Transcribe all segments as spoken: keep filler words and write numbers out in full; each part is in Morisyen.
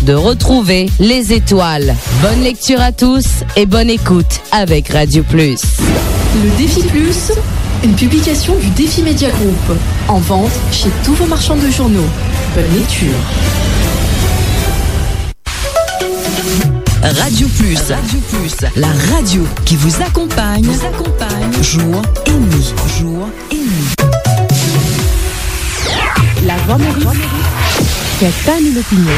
De retrouver les étoiles. Bonne lecture à tous et bonne écoute avec Radio Plus. Le Défi Plus, une publication du Défi Média Group. En vente chez tous vos marchands de journaux. Bonne lecture. Radio Plus. Radio Plus, la radio qui vous accompagne, vous accompagne, jour et nuit, jour et nuit. La Voix Maurice, faites pas nous l'opinion.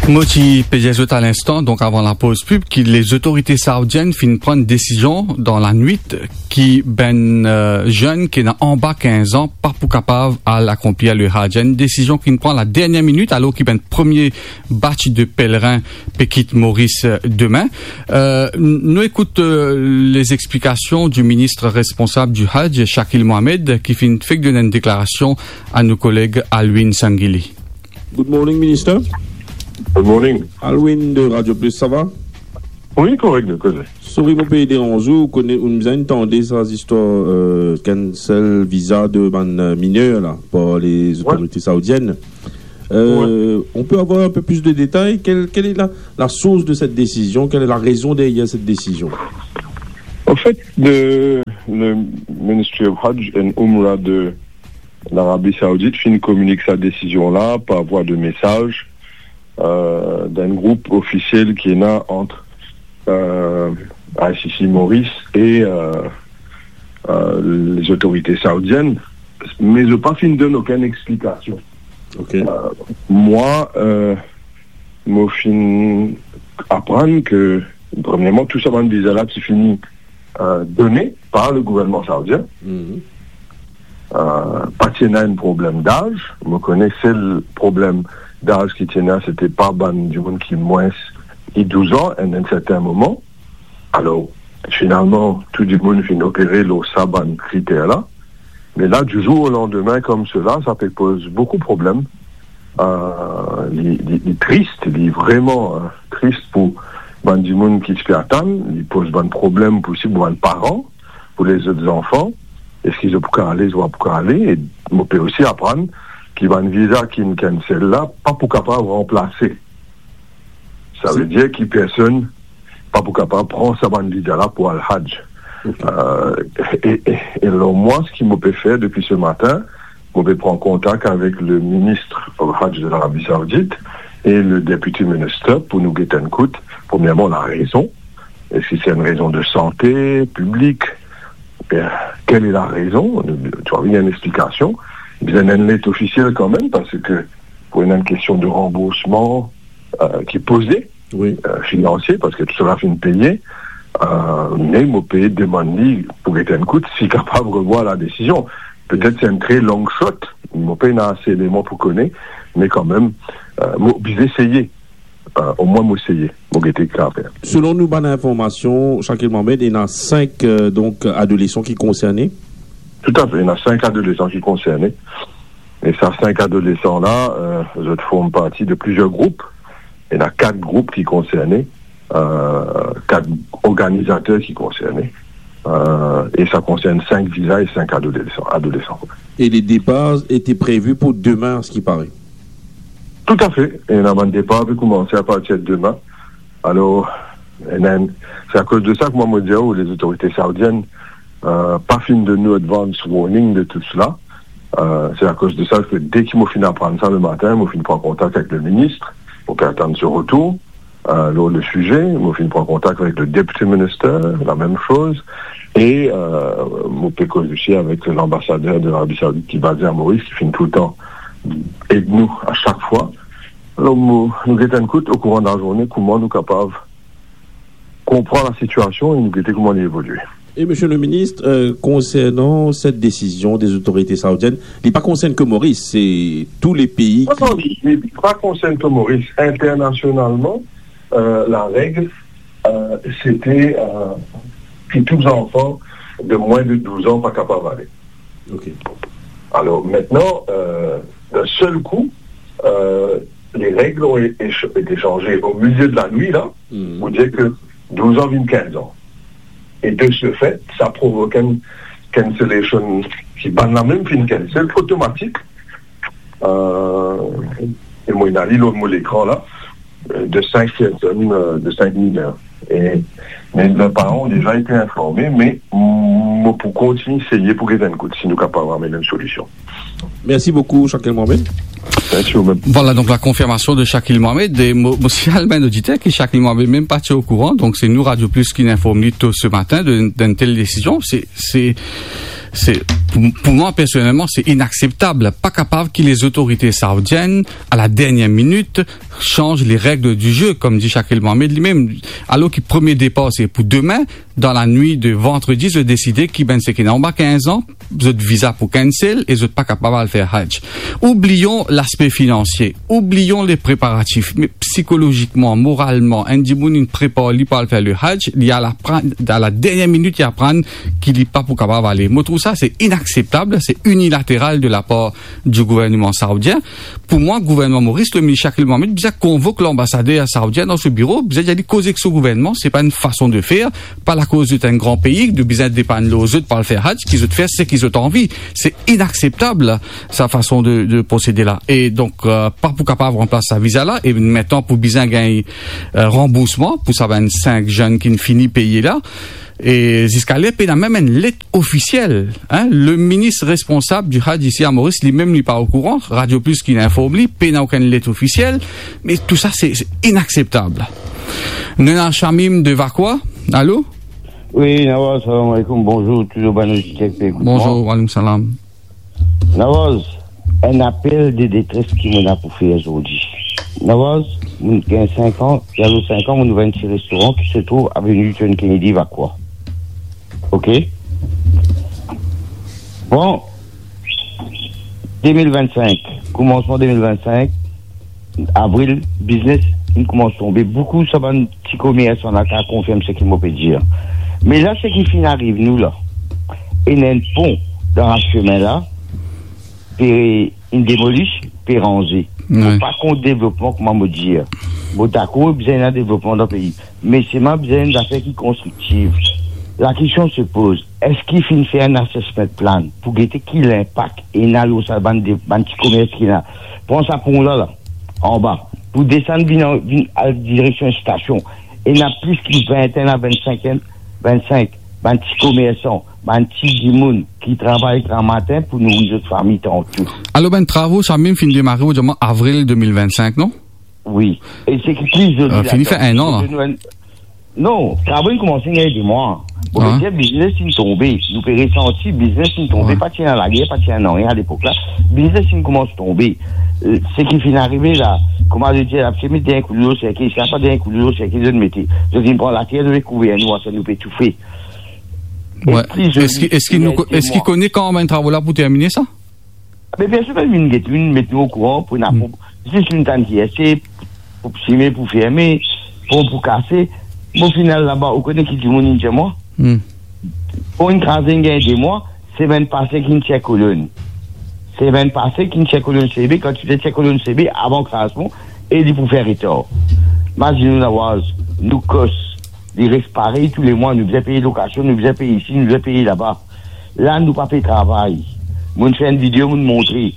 Mo ti pe dir zot a linstan, donk avan lapoz pib, ki lezotorite saoudienn finn pran desizion dan lanwit ki bann, euh, zenn ki ena anba kinz an pa pou kapav al akonplir le Hadj. Enn desizion ki finn pran la dernie minit, alor ki bann premie batch de pelerin pe kit Moris, euh, demin. Euh, n-, nou ekout, euh, lezexplikasion di minis responsab di Hadj, Shakil Mohamed, ki finn fek donn enn deklarasion a nou koleg Alwin Sangili. Good morning, Minister. Good morning. Alwin de Radio Plus, sa va? Wi, korek, de koze. Sorry, mo pe deranz ou, ou kone, ou bizin tande sa zistwar, euh, cancel viza de bann, euh, miner la, par lezotorite saoudienn. Euh, on peut avoir un peu plus de détails? Quelle, quelle est la, la source de cette décision? Quelle est la raison derrière cette décision? En fait, le, le Ministry of Hajj and Umrah de l'Arabie Saoudite finn kominik sa desizion la par vwa de mesaz, euh, dan enn group ofisiel ki ena ant, euh, I C C Maurice e, euh, euh, lezotorite saoudienn, me zot pa finn donn okenn explikasion. Ok. Euh, mwa, euh, mo finn aprann ke, premierman, tou sa bann viza la ti fini, euh, done par le gouvernman saoudien. Mhm. Euh, pa ti ena enn problem daz. Mo kone sel problem daz ki ti ena, sete pa bann dimoun ki mwins ki douz an, en enn sertin moman. Alor, finalman, tou dimoun finn opere lor sa bann kriter la. Me la, du jour au lendemain, comme cela, sa pe poz boukou problem. Euh, li, li, li tris, li vreman, euh, tris pou bann dimoun ki ti pe atann, li poz bann problem pou si, pou bann paran, pou lezot zanfan, eski zot pou kapav ale, zot pa pou kapav ale, e mo pe osi aprann ki bann viza ki finn cancel la, pa pou kapav ranplase. Sa ve dir ki personn pa pou kapav pran sa bann viza la pou al Hadj. Ok. Euh, e, e, e lor mwa, seki mo pe fer depi se matin, mo pe pran kontak avek le ministre of Hajj de l'Arabie Saoudite e le deputy minister pou nou get enn kout, premierman, la rezon. Eski se enn rezon de sante piblik? Bien, quelle est la raison? Nou, nou bizin enn explikasion. Bizin enn let ofisiel kanmem, parski pou ena enn kestion de ranboursman, euh, ki poze, wi, euh, finansie, parski tou sela finn peye, euh, me mo pe demann li pou get enn kout, si kapav revwar la desizion. Petet se enn tre long shot, mo pena ase eleman pou kone, me kanmem, euh, mo bizin eseye. Euh, omwin mo eseye, mo gete ki kapav fer. Selon nou bann informasion, Shakil Mohamed, ena sink, euh, donk, adolesan ki konserne? Toutafe, ena sink adolesan ki konserne. E sa sink adolesan la, euh, zot form parti de plizier group. Ena kat group ki konserne, euh, kat organizater ki konserne. Euh, e sa konsern sink viza e sink adolesan, adolesan. E le depar ete previ pou demin, a ce qui paraît? Toutafe. Ena bann depar pe koumanse apartir demin. Alor, ena enn, se akoz de sa ki mwa mo dir ou, lezotorite saoudienn, euh, pa finn donn nou advance warning de tou sela. Euh, se akoz de sa ke deki mo finn aprann sa le matin, mo finn pran kontak avek le minis, mo pe atann so retour, euh, lor le size. Mo finn pran kontak avek le deputy minister, lamem soz. E, euh, mo pe koz osi avek lanbasader de Larabi Saoudit ki baze a Moris, ki finn toultan ed nou a sak fwa. Alor, mo, nou get enn kout okouran lazourne, kouma nou kapav konpran lasitiasion e nou gete kouma li evolie. E, Monsieur le Ministre, euh, concernant cette décision des autorités saoudiennes, li pa konsern ke Moris, se tou le pei ki... Non, non, li, li pa konsern ke Moris. Internasionalman, euh, lareg, euh, sete, euh, ki tou zanfan de mwin de douz an pa kapav ale. Ok. Alor, mintnan, euh, d'un sel kou, euh, les règles ont é-, été changées au milieu de la nuit, la, pou dir ke douz an vinn kinz an. E de ce fait, sa provok enn cancellation ki bann la mem finn cancel, otomatik. Euh, E mo inn al li lor mo lekran la, euh, de cinq personnes, euh, de cinq mineurs. E, me lor paran deza ete informe, me mo pou kontign seye pou get enn kout si nou kapav amenn enn solision. Mersi boukou, Shakil Mohamed. Mersi ou mem. Voilà, donc la confirmation de Shakil Mohamed. E mo, mo signal bann oditer ki Shakil Mohamed mem pa ti okouran. Donc, se nou, Radio Plus, ki inn inform li to se matin de, d'enn tel desizion. Se, se, se, pou, pou mwa, personelman, se inakseptab. Pa kapav ki lezotorite saoudienn, a la dernière minute, chanz le règle du jeu, kom di Shakil Mohamed limem. Alor ki premie depar se pou demin, dan lanwit de vandredi, zot deside ki bann seki ena anba kinz an, zot viza pou cancel e zot pa kapav al fer Hajj. Oublion laspe finansie, oublion le preparatif, me psikolozikman, moralman, enn dimoun inn prepar li pou al fer le Hajj, li al aprann, a la dernière minute, li aprann ki li pa pou kapav ale. Mo trouv sa, se inakseptab, se inilateral de la par di gouvernman saoudien. Pou mwa, gouvernman Moris, le minis Shakil Mohamed bizin konvok lanbasader saoudien dan so biro, bizin dir li koz ek so gouvernman, se pa enn fason de fer, pa lakoz zot enn gran pei, nou bizin depann lor zot pou al fer Hajj, ki zot fer seki zot anvi. Se inakseptab, sa fason de, de prosede la. E donk, euh, pa pou kapav ranplas sa viza la, e mintnan pou bizin gagn, euh, ranboursman pou sa bann sink zenn ki'nn fini peye la. E ziska ler, pena mem enn let ofisiel, hein. Le minis responsab di Hajj isi a Moris, limem li pa okouran, Radio Plus ki inn inform li, pena okenn let ofisiel, me tou sa, se, se inakseptab. Nou ena Shamim de Vakwa. Alo? Wi, Nawaz, salam aleykoum, bonzour, touzour bann oditer ki pe ekout mwa. Bonzour, wa aleykoum salam. Nawaz, enn apel de detres ki mo ena pou fer zordi. Nawaz, mo gagn sink an, e alor sink an, mo ouver enn ti restoran ki se trouv aveni John Kennedy, Vakwa. Ok? Bon, de mil vinn-sink, koumansman de mil vinn-sink, avril, biznes inn koumans tonbe. Boukou sa bann ti komersan la kav konfirm seki mo pe dir. Me la, seki finn ariv nou la, ena enn pon dan la semin la, pe inn demolis, pe ranze. Wi. Mo pa kont devlopman, kouma mo dir. Mo dakor, bizin ena devlopman dan pei. Me selman bizin enn zafer ki konstriktif. Lakestion se poz, eski finn fer enn assessment plan pou gete ki linpak ena lor sa bann de, bann ti komers ki ena? Pran sa pon la, la, anba, pou desann vinn, vinn al direksion stasion, ena plis ki vintenn a vinn-sink, vinn-sink bann ti komersan, bann ti dimoun ki travay gramatin pou nouri zot fami tanto. Alor, bann travo sa mem finn demare, ou dir mwa, avril de mil vinn-sink, non? Wi. E seki pli zoli, euh, fini fer enn an, la. Non, travo inn koumans gagn de mwa. Bon, wi, me biznes inn tonbe. Nou pe resanti, biznes inn tonbe. Wi. Pa ti ena lager, pa ti ena nanye alepok la. Biznes inn koumans tonbe. Euh, seki finn arive la, kouma zot dir, la, se met dernie kou lor serkey, sa pa dernie kou lor serkey, zot mete. Zot inn pran later, zot pe kouver nou, sa nou pe toufe. Wi. Eski, eski nou, eski kone kan bann travo la pou termine sa? Me personn pa vinn get nou, met nou okouran pou ena pon, zis nou tann ki ese, pou sime, pou ferme, pon pou kase. Mo finn al laba, ou kone ki dimoun inn dir mwa? Pon inn kraze, inn gagn de mwa, semenn pase ki inn tir kolonn. Semenn pase ki inn tir kolonn C B, kan ti tir kolonn C B, avan krazman, e li pou fer retar. Mazinn ou, Nawaz, nou kos, li res parey tou le mwa, nou bizin peye lokasion, nou bizin peye isi, nou bizin peye laba. La, nou pa pe travay. Mo'nn fer enn video, mo'nn montre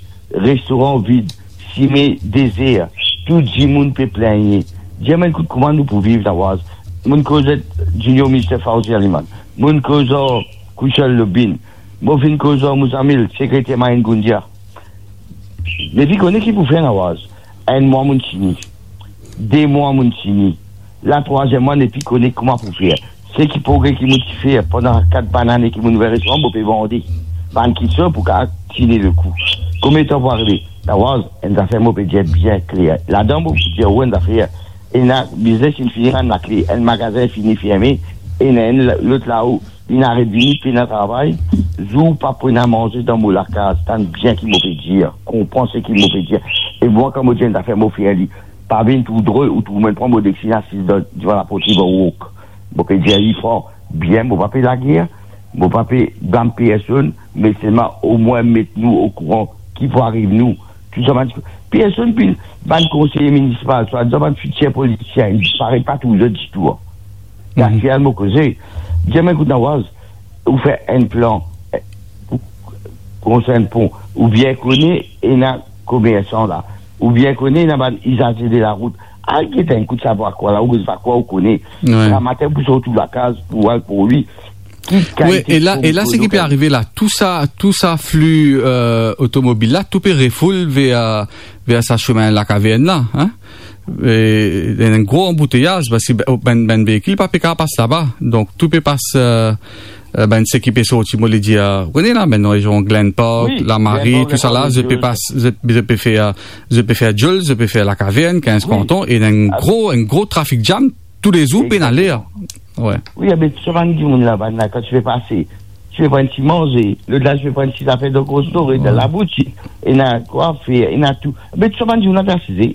restoran vid, sime dezer, tou dimoun pe pligne. Dir mwa enn kout, kouma nou pou viv, Nawaz? Mo'nn koz ar Junior Minister Fawzi Aliman, mo'nn koz ar Kouchal Lobin, mo finn koz ar Mouzamil, sekreter Maïn Goundia. Me vi kone ki pou fer, Nawaz. Enn mwa mo'nn tini. De mwa mo'nn tini. La, trwaziem mwa, nepi kone kouma pou fer. Seki progre ki mo'nn ti fer pandan kat bann ane ki mo'nn ouver restoran, mo pe vande. Bann ki sor pou kapav tini lekou. Konbien tan pou arive? Nawaz, enn zafer mo pe dir bien kler. Ladan, mo pou dir ou enn zafer. Ena biznes inn fini rann lakle, enn magazin fini ferme, ena enn lot lao, inn aret vini, pena travay, zour pa pena manze dan mo lakaz, tann bien ki mo pe dir, konpran seki mo pe dir. E mwa, kan mo dir enn zafer, mo fer li. Pa vinn tou drol ou tou, mo'nn pran mo deksi, asiz dan, divan laport, li vinn wok. Mo pe dir li fran, bien, mo pa pe lager, mo pa pe blam personn, me selman omwin met nou okouran ki pou ariv nou. Tou sa bann, personn, pi bann konseye minisipal, swadizan bann fitir politisien, li disparet pa tou zot ditou, an. Aktielman, mo koze, dir mwa, ekout, Nawaz, ou fer enn plan, eh, pou konstrir enn pon, ou bien kone ena komersan la, Ou bien kone, ena bann izaze de larout. Al get enn kout, savoir kwa la, ou savoir kwa ou kone. Wi. Gramatin pou sorti lakaz, pou al pou li. Ki kalite... Wi, e la, e la, seki pe arive la, tou sa, tou sa fli, euh, otomobil la, tou pe refoul ver, ver sa semin Lakavern la, hein? E, ena enn gro anbouteyaz, parski bann, bann veikil pa pe kapav pas laba. Donk, tou pe pas, euh, euh, bann seki pe sorti, mo le dir, euh, ou kone la, bann rezion Glen Park, Lamari, tou sa la, zot pe pas, zot, zot pe fer, zot pe fer Dioul, zot pe fer Lakavern, Kinz Kanton, e ena enn gro, enn gro trafik jam toulezour, pena ler. Wi, abe, tou sa bann dimoun la, bann la, kan ti pe pase, ti pe pran ti manze, lot la ti pe pran ti zafer dan gro store, dan laboutik, ena kwafer, ena tou. Abe, tou sa bann dimoun la pe asize.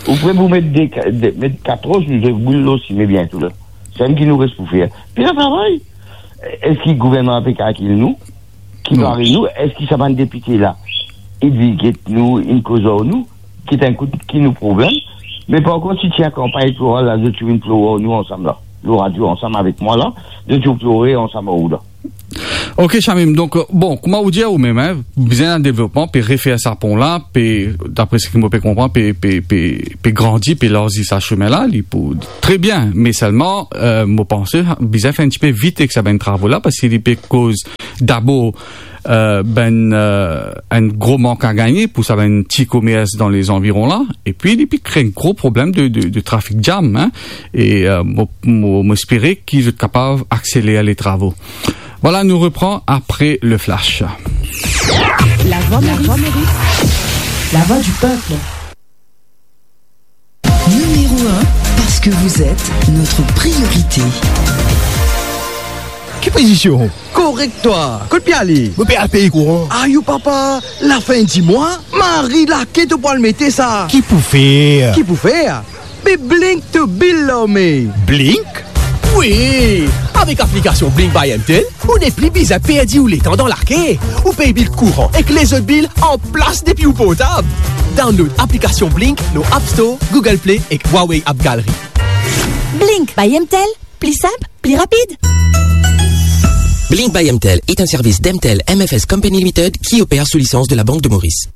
Ou pre pou met de ka-, de, met katros, nou zot boul lor sime biento la. Sa ki nou res pou fer. Pena travay. Eski gouvernman pe kalkil nou? Ki pare nou? Eski sa bann depite la, inn vizit nou, inn koz ar nou? Ki tankou ki nou problem? Me par kont, si ti ena kanpagn elektoral la, zot ti vinn plore ar nou ansam la. Lor radio ansam avek mwa la, zot ti plore ansam ar ou la. Ok, Shamim, donk, euh, bon, kouma ou dir ou mem, hein, bizin enn devlopman, pe refer sa pon la, pe, dapre seki mo pe konpran, pe, pe, pe, pe grandi, pe larzi sa semin la, li pou tre bien, me selman, euh, mo panse, bizin fer enn tipe vit ek sa bann travo la, parski li pe koz dabor, euh, bann, euh, enn gro mank a gagne pou sa bann ti komers dan lezanviron la, epi li pe kre enn gro problem de, de, de trafik jam, hein, e, euh, mo, mo, mo espere ki zot kapav akseler le travo. Voilà, nou repran apre le flash. La Voix Maurice. La voix du peuple. Numéro un, parce que vous êtes notre priorité. Ki pozision? Korek twa. Kot pe ale? Mo pe al pey kouran. Ayo papa, lafin di mwa, mari lake to pou al mete sa. Ki pou fer? Ki pou fer? Be Blink to bill lor me. Blink? Wi! Avek aplikasion Blink by M T L, ou nepli bizin perdi ou letan dan lake. Ou pey bil kouran ek lezot bil anplas depi ou portab. Download aplikasion Blink lor App Store, Google Play ek Huawei App Gallery. Blink by M T L, pli sinp, pli rapid. Blink by M T L est un service d'M T L M F S Company Limited qui opère sous licence de la Banque de Maurice.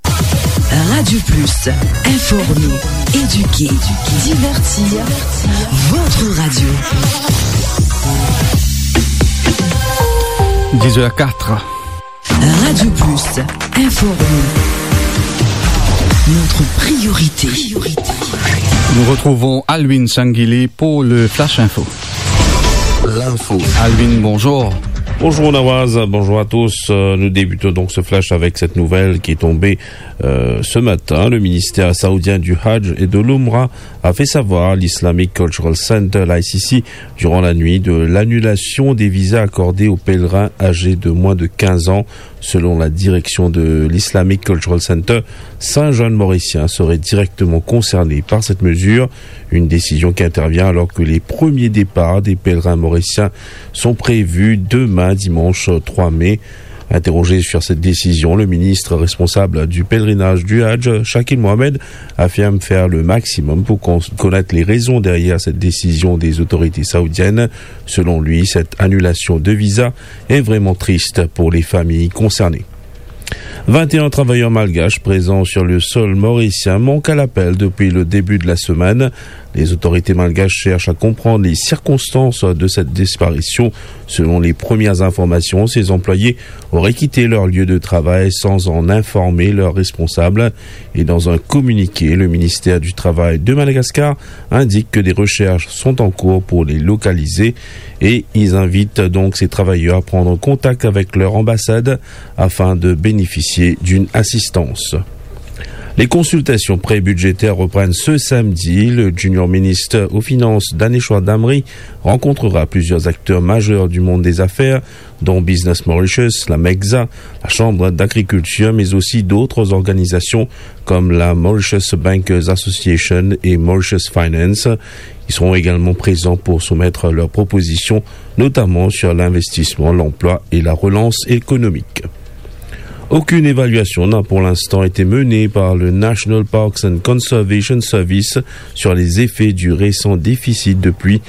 Radio Plus, informer, éduquer, divertir, votre radio. Dix heures quatre. Radio Plus, informer, notre priorité. Nous retrouvons Alwin Sangili pour le Flash Info. L'info. Alwin, bonjour. Bonjour Nawaz, bonjour à tous. Euh, nous débutons donc ce flash avec cette nouvelle qui est tombée, euh, ce matin. Le ministère saoudien du Hajj et de l'Umrah a fait savoir à l'Islamic Cultural Center, l'I C C, durant la nuit, de l'annulation des visas accordés aux pèlerins âgés de moins de quinze ans. Selon la direction de l'Islamic Cultural Center, cinq jeunes Mauriciens seraient directement concernés par cette mesure. Une décision qui intervient alors que les premiers départs des pèlerins mauriciens sont prévus demain, dimanche trois mai. Interrogé sur cette décision, le ministre responsable du pèlerinage du Hajj, Shakil Mohamed, affirme faire le maximum pour con-, connaître les raisons derrière cette décision des autorités saoudiennes. Selon lui, cette annulation de visa est vraiment triste pour les familles concernées. Vingt et un travailleurs malgaches présents sur le sol mauricien manquent à l'appel depuis le début de la semaine. Les autorités malgaches cherchent à comprendre les circonstances de cette disparition. Selon les premières informations, ces employés auraient quitté leur lieu de travail sans en informer leurs responsables. Et dans un communiqué, le ministère du Travail de Madagascar indique que des recherches sont en cours pour les localiser et ils invitent donc ces travailleurs à prendre contact avec leur ambassade afin de bénéficier d'une assistance. Les consultations pré-budgétaires reprennent ce samedi. Le junior ministre aux Finances, Danesh Damri, rencontrera plusieurs acteurs majeurs du monde des affaires, dont Business Mauritius, la MECSA, la Chambre d'agriculture, mais aussi d'autres organisations comme la Mauritius Bankers Association et Mauritius Finance. Ils seront également présents pour soumettre leurs propositions, notamment sur l'investissement, l'emploi et la relance économique. Aucune évaluation n'a pour l'instant été menée par le National Parks and Conservation Service sur les effets du récent déficit de pluie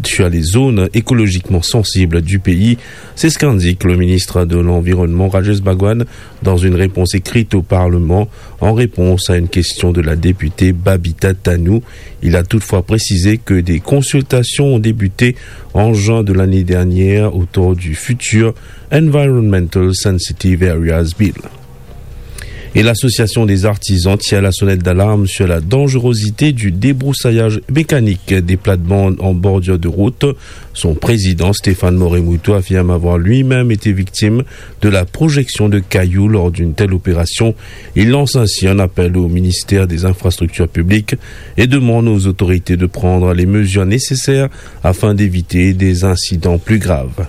sur les zones écologiquement sensibles du pays. C'est ce qu'indique le ministre de l'Environnement, Rajesh Bhagwan, dans une réponse écrite au Parlement en réponse à une question de la députée Babita Tanou. Il a toutefois précisé que des consultations ont débuté en juin de l'année dernière autour du futur Environmental Sensitive Areas Bill. Et l'Association des artisans tire la sonnette d'alarme sur la dangerosité du débroussaillage mécanique des plates-bandes en bordure de route. Son président, Stéphane Moremoutou, affirme avoir lui-même été victime de la projection de cailloux lors d'une telle opération. Il lance ainsi un appel au ministère des Infrastructures publiques et demande aux autorités de prendre les mesures nécessaires afin d'éviter des incidents plus graves.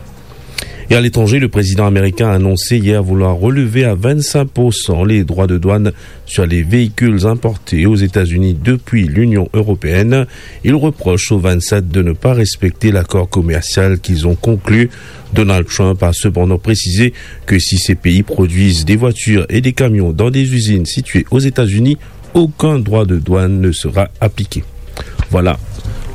Et à l'étranger, le président américain a annoncé hier vouloir relever à vingt-cinq pour cent les droits de douane sur les véhicules importés aux États-Unis depuis l'Union européenne. Il reproche aux vingt-sept de ne pas respecter l'accord commercial qu'ils ont conclu. Donald Trump a cependant précisé que si ces pays produisent des voitures et des camions dans des usines situées aux États-Unis, aucun droit de douane ne sera appliqué. Voilà,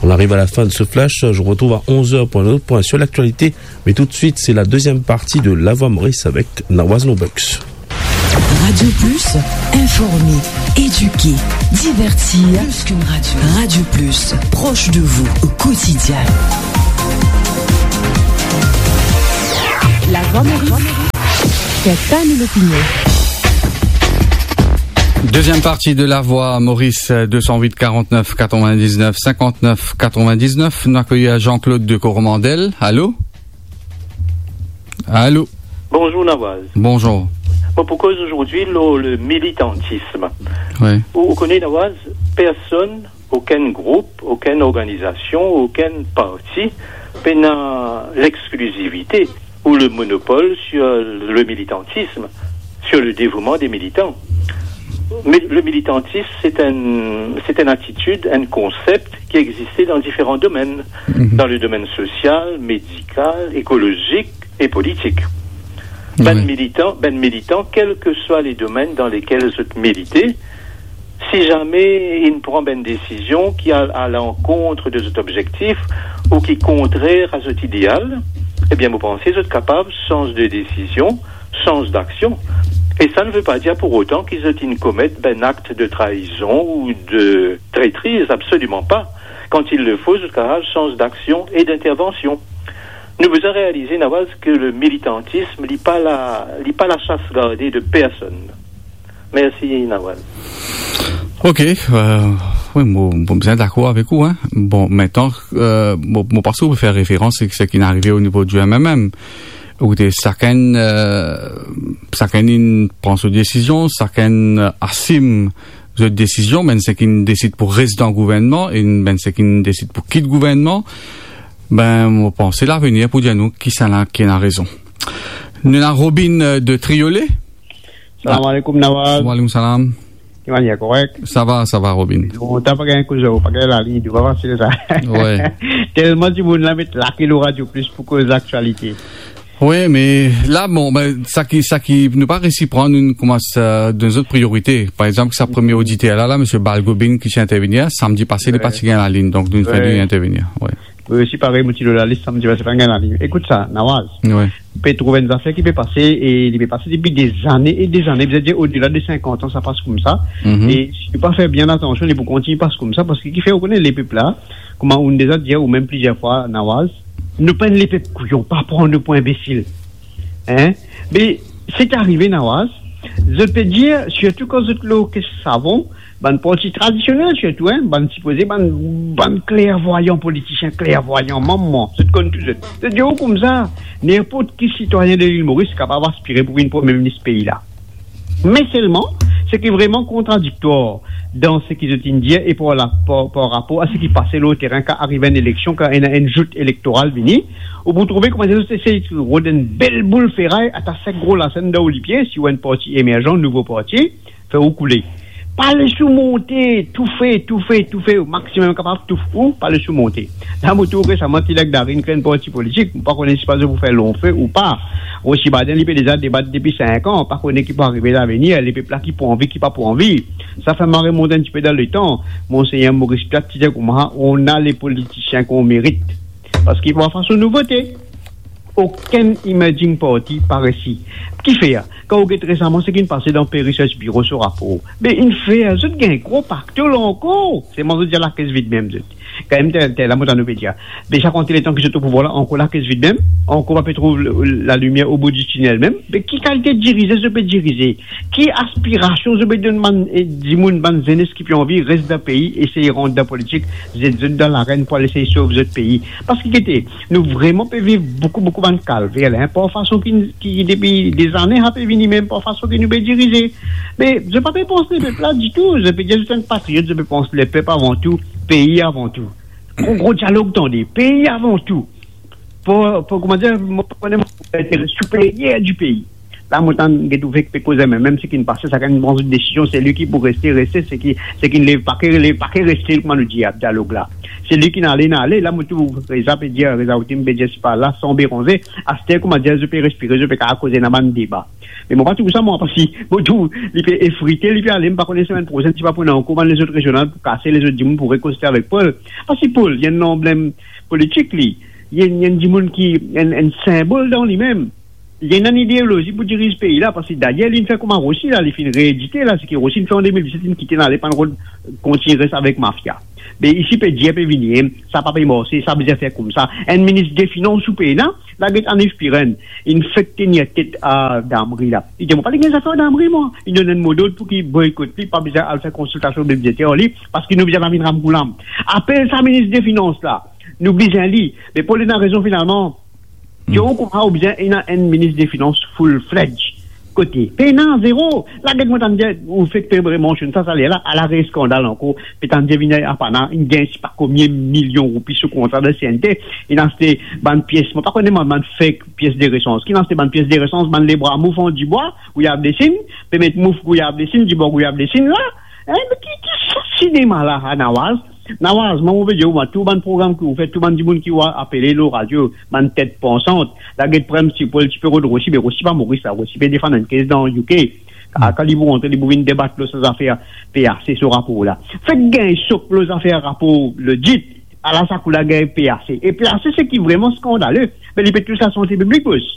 on arrive à la fin de ce flash. Je vous retrouve à onze heures pour un autre point sur l'actualité. Mais tout de suite, c'est la deuxième partie de La Voix Maurice avec Nawaz Nobucks. Radio Plus, informer, éduquer, divertir. Plus qu'une radio. Radio Plus, proche de vous au quotidien. La Voix Maurice, c'est ta l'opinion. Deuxième partie de La Voix Maurice, deux cent huit quarante-neuf quatre-vingt-dix-neuf cinquante-neuf quatre-vingt-dix-neuf. Nou akeyir Jean-Claude de Coromandel. Allô ? Allô ? Bonzour Nawaz. Bonzour. Bon, pou koz azordi lor le militantism. Wi. Ou, ou kone Nawaz, personn, okenn group, okenn organizasion, okenn parti pena lexklizivite ou le monopol sur le militantisme, sur le dévouement des militants. Mais le militantisme, c'est un, c'est une attitude, un concept qui existait dans différents domaines, dans le domaine social, médical, écologique et politique. Bann militan, bann militan, kel ke swa le domenn dan lekel zot milite, si zame inn pran bann desizion ki al a lankont de zot obzektif ou ki kontrer a zot ideal, ebien, mo panse zot kapav sanz de desizion, sanz daksion. E sa ne ve pa dir pour autant ki zot inn komet bann akt de traizon ou de tretriz, absoliman pa. Quand il le faut, zot kapav sanz daksion e d'intervansion. Nou bizin realize, Nawaz, ke le militantism, li pa la, li pa lasas garde de personn. Mersi, Nawaz. Ok, euh, wi, mo, mo bizin dakor avek ou, hein. Bon, mintnan, euh, mo, mo panse ou pe fer referans a seki inn arive o nivo di M M M. Ou kote sakenn, euh, sakenn inn pran so desizion, sakenn, euh, asim zot desizion, bann seki inn desid pou res dan gouvernman, e bann seki inn desid pou kit gouvernman. Be, mo panse lavenir pou dir nou kisannla ki ena rezon. Nou ena Robin, euh, de Triolet. Salam alaikum, Nawaz. Wa alaikum salam. Ki manier, korek? Sa va, sa va, Robin. Bon, ta pa gagn koze, pa gagn lalinn, pa fasil sa. Wi. Telman dimoun la met lake lor Radio Plus pou koz laktialite. Wi, me la, bon, be, sa ki, sa ki nou pa resi pran, nou koumans, euh, donn zot priorite. Par exanp, sa premie oditer la, la, misie Balgobin ki ti intervenir, samdi pase, li pa ti gagn lalinn, donk nou fer li intervenir. Wi. Wi, osi parey, mo ti lor lalis, samdi pase pa gagn lalinn. Ekout sa, Nawaz. Wi. Pe trouv enn zafer ki pe pase, e li pe pase depi dezane e dezane, bizin dir odela de sinkant an, sa pas koumsa. Mhm. E si nou pa fer bien atansion, li pou kontign pas koumsa, parski ki fer, ou kone lepep la, kouma ou'nn deza dir, ou mem plizier fwa, Nawaz, nou pa enn lepep kouyon, pa pran nou pou inbesil. Hein? Me, seki arive, Nawaz, zot pe dir, sirtou kan zot lor kes savon, bann parti tradisionel sirtou, hein, bann sipoze, bann, bann klervwayan politisien, klervwayan, mama, zot konn tou zot. Zot dir ou koumsa, ninport ki sitwayin de Lil Moris kapav aspire pou vinn premie minis pei la. Me selman, seki vreman kontradiktwar dan seki zot inn dir e par la, par, par rapor a seki pase lor terin, kan arive enn eleksion, kan ena enn zout elektoral vini, ou pou trouve kouma zot esey rod enn bel boul feray, atas sink gro lasenn dan ou lipie, si ou enn parti emerzan, nouvo parti, fer ou koule. Pa les ou monte, toufe, toufe, toufe, o maximum kapav touf ou, pa les ou monte. La, mo trouv resaman, ti leg Darin kre enn parti politik, mo pa kone si pa zot pou fer lonfe ou pa. Osi Baden, li pe deza debat depi sink an, pa kone ki pou arive lavenir, lepep la ki pou anvi, ki pa pou anvi. Sa fer mwa remont enn tipe dan letan. Monsegner Maurice Piat ti dir kouma, on a les politiciens qu'on mérite. Parski par fason nou vote, okenn emerging party pa resi. Kifer? Kan ou get resaman seki inn pase dan Pew Research Bureau so rapor, be inn fer zot gagn gro pakto la ankor. Selman zot dir lakes vid mem zot. Kan mem tel, tel la, mo tann ou pe dir, be sa konte letan ki zot o pouvwar la, ankor lakes vid mem, ankor pa pe trouv l-, lalimier o bout di tinel mem. Be ki kalite dirize zot pe dirize? Ki aspirasion zot pe donn bann, eh, dimoun, bann zenes ki pe anvi res dan pei, esey rant dan politik, zet zot dan larenn pou al esey sov zot pei? Parski gete, nou vreman pe viv boukou, boukou bann kalver la, par fason ki, ki depi dezane sa pe vini, mem par fason ki nou pe dirize. Me zot pa pe pans lepep la ditou. Zot pe dir zot enn patriot, zot pe pans lepep avan tou, pei avan tou. Gro, gro dialog, tande, pei avan tou. Pou, pou, kouma dir, mo pa kone, mo pa interes superier di pei. La, mo tann get ou fek pe koze, me mem seki inn pase, sakenn pran so desizion, seki pou reste, reste, seki, seki lev pake, lev pake, reste, kouma nou dir, dialog la. Seki inn ale, inn ale. La, mo trouv Reza pe dir, Reza Otim pe dir, sipa la, san beranze. Aster, kouma dir, zot pe respire, zot pe kapav koze, ena bann deba. Me mo pa trouv sa, mwa, parski mo trouv li pe efrite, li pe ale, mo pa kone semenn prosenn, si pa pou ena ankor bann lezot rezional pou kase, lezot dimoun pou rekonsilie avek Paul. Parski Paul, li enn lanblem politik, li. Li enn, li enn dimoun ki, enn, enn sinbol dan limem. Li ena enn ideolozi pou diriz pei la, parski dayer, li inn fer kouma Rossy la, li finn reedite la, seki Rossy inn fer an de mil diset, li inn kite, inn ale, pa'nn rod, kontign res avek mafia. Be isi pe dir, pe vini, sa pa pe marse, sa bizin fer koumsa. Enn minis definans ou pena, la get Annie Spirène, inn fek tenir tet a Damry la. Li dir, mo pa le gagn zafer Damry, mwa. Li donn enn model pou ki boykot li, pa bizin al fer konsiltasion bidzeter ar li, parski nou bizin pa vinn ramkoulam. Apel sa minis definans la, nou bizin li. Me pou li ena rezon finalman, Hmm. Dir ou kouma ou bizin ena enn minis definans full-fledged. Kote? Pena, zero. La get mo tann dir, ou fek pe mensionn sa, sa ler la, ala re skandal ankor, pe tann dir vinn APANA, inn gagn sipa konbien milion roupi sou kontra dan C N T, inn aste bann pies, mo pa kone mwa, bann fek pies de resans. Ki inn aste bann pies de resans, bann lebra mouf an dibwa, gouyab lesin, pe met mouf gouyab lesin, dibwa gouyab lesin la. Hein, me ki, ki sa sinema la, ha, Nawaz? Nawaz, mwa mo pe dir ou, mwa, tou bann program ki ou fer, tou bann dimoun ki ou apele lor radio, bann tet pansant, la get prem ti Paul, ti pe rod Rossy, be Rossy pa Moris la, Rossy pe defann enn kes dan U K. Hmm. Kan li pou rantre, li pou vinn debat lor sa zafer P A C, so rapor la. Fek gagn sok lor zafer rapor lodit, ala sa kou la gagn P A C. E P A C, seki vreman skandale, be li pe tous lasante piblik, bos.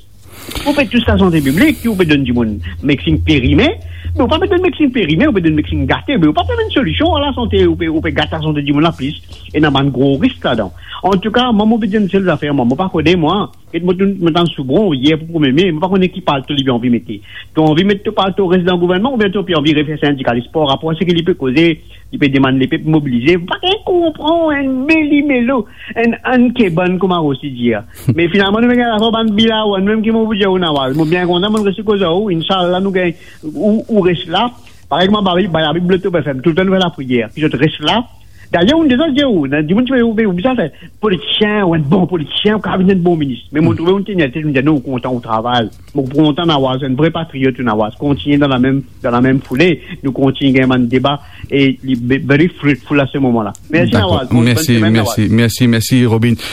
Ou pe tous lasante piblik, ou pe donn dimoun medsin perime, me ou pa pe donn medsin perime, ou pe donn medsin gate, me ou pa pe donn solision a lasante, ou pe, ou pe gat lasante dimoun la plis, ena bann gro risk ladan. Antouka, mwa, mo pe dir enn sel zafer, mwa, mo pa kone, mwa, get mo, mo tann Soubron yer pou premie me, mo pa kone ki palto li pe anvi mete. To anvi met to palto res dan gouvernman, oubien to pe anvi refer sindikalis par rapor a seki li pe koze, li pe demann lepep mobilize, pa gagn konpran enn melimelo, enn, enn kebann, kouma Rossy dir. Me finalman, nou gagn lafor bann bilawan, mem ki mo pou dir ou, Nawaz. Mo bien kontan, mo reste koz ar ou, inshallah, nou gagn, ou, ou res la. Parey kouma Babi, Babi, Babi, Bloto, F M, toultan nou fer lapriyer, ki zot res la. Dayer, ou deza dir ou, ena dimoun ti pe, ou, ou bizin fer politisien, ou enn bon politisien, ou kapav vinn enn bon minis. Me mo trouve ou tenir tet, ou dir, non, ou kontan ou travay. Mo kontan Nawaz, enn vre patriot ou Nawaz. Kontigne dan lamem, dan lamem foule. Nou kontigne gagn bann deba e li be-, very fruitful a se moman la. Mersi, Nawaz. Dakor. Bonn, bonn semenn, Nawaz. Mersi, mersi, mersi, Robin.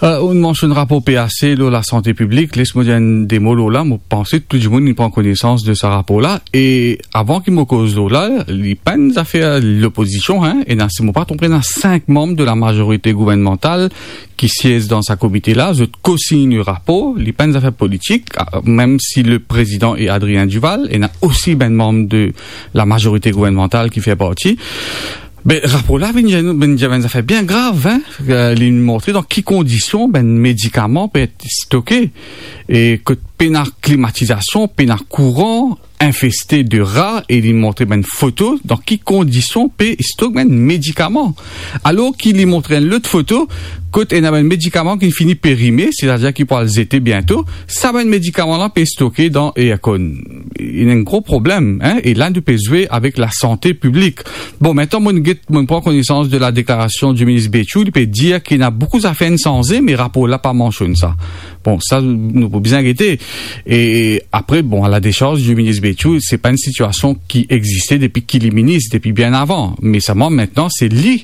Euh, ou mansionn rapor P A C lor lasante piblik, les mo dir enn de mo lor la, mo panse tou dimoun inn pran konesans de sa rapor la. E avan ki mo koz lor la, li pa enn zafer lopozision, hein, ena, si mo pa tronpe, ena sink manm de lamazorite gouvernmantal ki siez dan sa komite la, zot kosign rapor, li pa enn zafer politik, a, mem si le prezidan e Adrien Duval, ena osi bann manm de lamazorite gouvernmantal ki fer parti. Be, rapor la vinn, vinn, vinn dir bann zafer bien grav, hein. Euh, li montre dan ki kondision bann medikaman pe et stoke, e kot pena klimatizasion, pena kouran, infeste de ra, e li montre bann foto dan ki kondision pe stok bann medikaman. Alor ki li montre enn lot foto kot ena bann medikaman ki fini perime, setadir ki pou al zete biento, sa bann medikaman la pe stoke dan aircon. Ena enn gro problem, hein, e la nou pe zwe avek lasante piblik. Bon, aster mo get, mo pran konesans de ladeklarasion di minis Bechoo, li pe dir ki ena boukou zafer inn sanze, me rapor la pa mansionn sa. Bon, sa, nou pou bizin gete. E apre, bon, a la desarz di minis Bechoo, se pa enn sitiasion ki existe depi ki li minis, depi bien avan. Me selman, aster, se li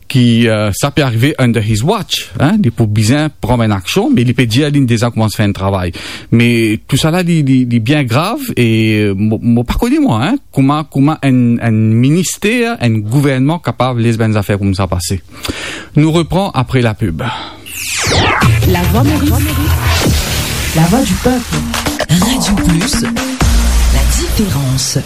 ki, euh, sa pe arive under his watch, hein, li pou bizin pran enn aksion, me li pe dir li deza koumans fer enn travay. Me tousala, li, li, li bien grav, e mo, mo pa kone mwa, hein, kouma, kouma enn, enn minister, enn gouvernman kapav les bann zafer koumsa pase. Nou repran apre lapib. La Voix Maurice. La voix du peuple. Radio Plus, la différence.